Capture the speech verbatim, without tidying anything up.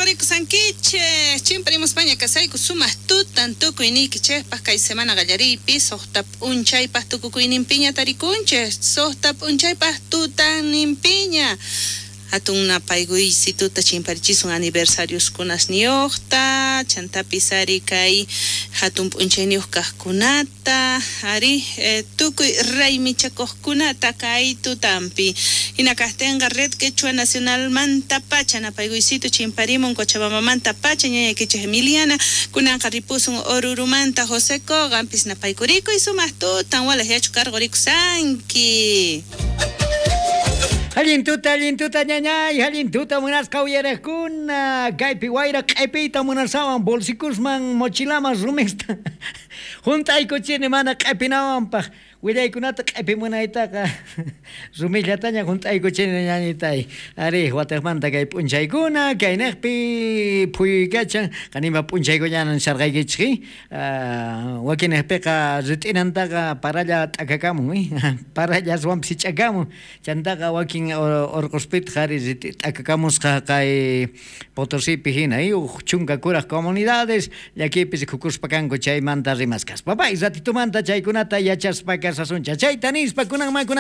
Karqurikusankichej chimparimuspaña kasayku sumaq tutan tukuyniykichejpaq kay semana qallariypi suqta p'unchaypaq tukukuyninpiña tarikunchej suqta p'unchaypaq tutanninpiña hatun napaykuysituta chimparichisun aniversarioskunasniyuqta chantapis ari kay hatun p'unchayniyuq kaqkunata ari eh, tukuy raymichakuqkunata kay tutanpi hina kaqtinqa Red Quechua Nacionalmanta pacha napaykuysitu chimparimun Cochabambamanta pacha ñañaykichej Emiliana kunanqa ripusun Orurumanta José Koganpis napaykurikuy sumaq tutan walaj yachu karqurikusanki. Allin tuta, allin tuta, ñañay, allin tuta munasqa uyariqkuna, kaypi wayra q'ipiyta munasawan bolsikusman mochilaman rumista hunt'aykuchini mana q'ipinawanpaq willaykunata q'ipimunaytaqa rumillataña hunt'aykuchini ñañitay ari wataqmanta kay p'unchaykuna kayniqpi phuyuykachan qanima p'unchaykuñanan sarqaykichik wakinniqpiqa rit'inantaqa paralla t'akakamun paralla aswanpis sich'akamun chantaqa wakin urquspitaq ari t'akakamusqa kay Potosipi hina uj chunka kuraq comunidades llakipis rikukuspa kanku chaymanta rimaskaspa pay ratitumanta chaykunata yachaspa kasasuncha chayta nispa kunanman